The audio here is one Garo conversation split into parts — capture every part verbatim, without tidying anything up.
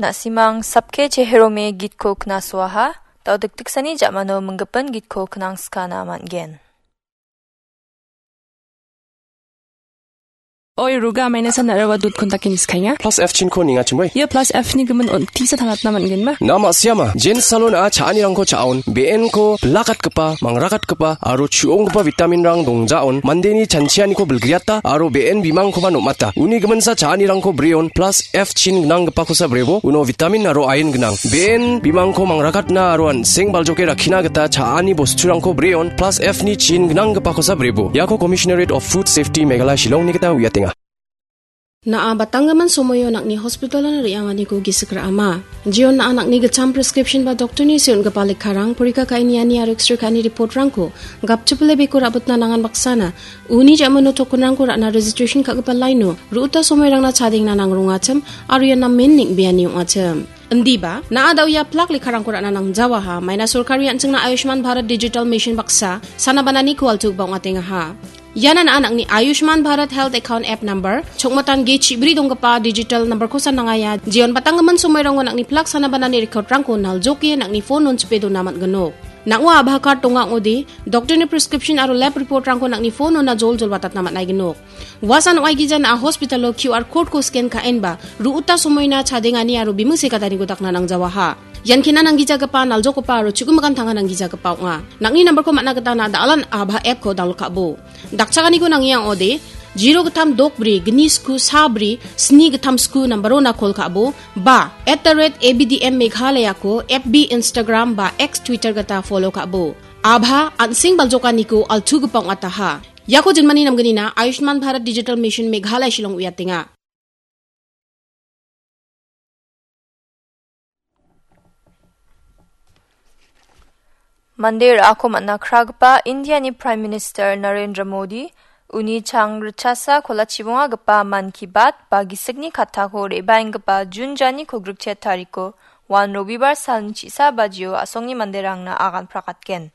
Na·simang Sapke Cheherome gitko knasoaha, dao dikdiksani ja·mano minggipin gitko knangskana man·gen. Oi, ruga, maina san narawa dut kontakin skainga. Plus F chinko ningachimoi. Ia plus F ni gimin on tisa tangatna man·genba? Na ma·siama, jen salon a cha·anirangko cha·on, B N ko bilakatgipa, mangrakatgipa, aro chu·onggipa vitamin rang dongjaon, mandeni chanchianiko bilgriata, aro B N bimangkoba nom·ata. Uni giminsa cha·anirangko breon, plus F chin gnanggipakosa brebo, uno vitamin aro ain gnang. B N bimangko mangrakatna aro an·seng baljoke rakkina gita cha·ani bosturangko breon, plus F ni chin gnanggipakosa brebo. Iako Commissionerate of Food Safety Meghalaya Shillongni gita uiatenga. Na·a batanggimin somoio nang·ni hospitalon re·anganiko gisik ra·ama. Jion na·a nang·ni gitcham prescription ba doktorni seon·gipa lekkarang, porika ka·iniani aro X-ray ka·ini reportrangko gapchipile beko ra·bitna nangan baksana, uni ja·mano tokenrangko ra·na registration ka·gipa laino, ru·uta somoirangna chadengna nangrongachim, aro ian namen neng·beani ong·achim. Indiba, na·a da·o ia plak lekkarangko ra·na nangjawaha, maina sorkari an·chingna Ayushman Bharat Digital Mission baksa, sana bananiko altugipa ong·atengaha. Iana na·a nang·ni Ayushman Bharat Health Account App Number, chokmatan ge chibri donggipa digital number-kosa nangaia, jeon batanggimin somoirango nang·ni plak sana banani record-rangko naljoke nang·ni phone-on chipe dona man·gnok. Nang·o Aadhaar card donga ong·ode, doktorni prescription aro lab report-rangko nang·ni phone-ona joljol watatna man·aignok. Uasan ong·aigija na·a hospital-o Q R code-ko scan ka·enba, ru·uta somoina chadengani aro bimung sekataniko dakna nangjawaha. Ian kena nanggijagipa, naljokgipa aro chu·gimikan tanga nanggijagipa ong·a. Nang·ni number-ko man·na gita na·a da·alan Aadhaar app-ko download ka·bo. Dakchakaniko nangia ong·ode, zero gittam dok bri, gni sku sa bri, sni gittam sku number-ona call ka·bo, ba, at the rate A B D M Meghalaya-ko F B, Instagram ba X, Twitter gita follow ka·bo. Aadhaar an·seng baljokaniko altugipa ong·ataha. Iako jinmani namgnina Ayushman Bharat Digital Mission Meghalaya Shillong uiatenga. Mande ra·ako man·a kragipa Indiani Prime Minister Narendra Modi uni chang ritchasa kolachibongagipa Mann Ki Baat ba gisikni kattako re·baenggipa Jun jani kogrikchet tariko wan Robibar salni chisa bajio a·songni manderangna agan prakatgen.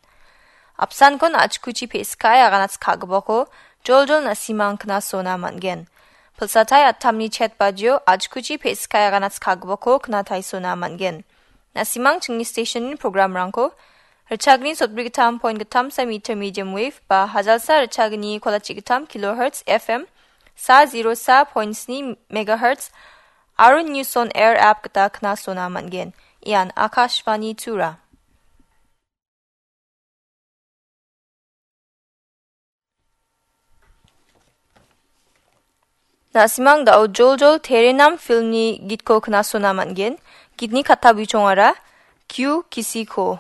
Apsankon achkuchi pe·skae aganatskagipako joljol na·simang knasona man·gen. Pilsatai attamni chet bajio achkuchi pe·skae aganatskagipako knataisona man·gen. Na·simang chingni stationni programrangko richagni sotbrigittam point gittamsa meter medium wave ba hajalsa richagni kolachigittam kilohertz F M sa zero sa point sni megahertz aro News on Air app gita knasona man·gen. Ian Akashvani Tura. Na·simang da·o joljol Terenam filmni gitko knasona man·gen. Gitni katta buichongara Q Kisiko.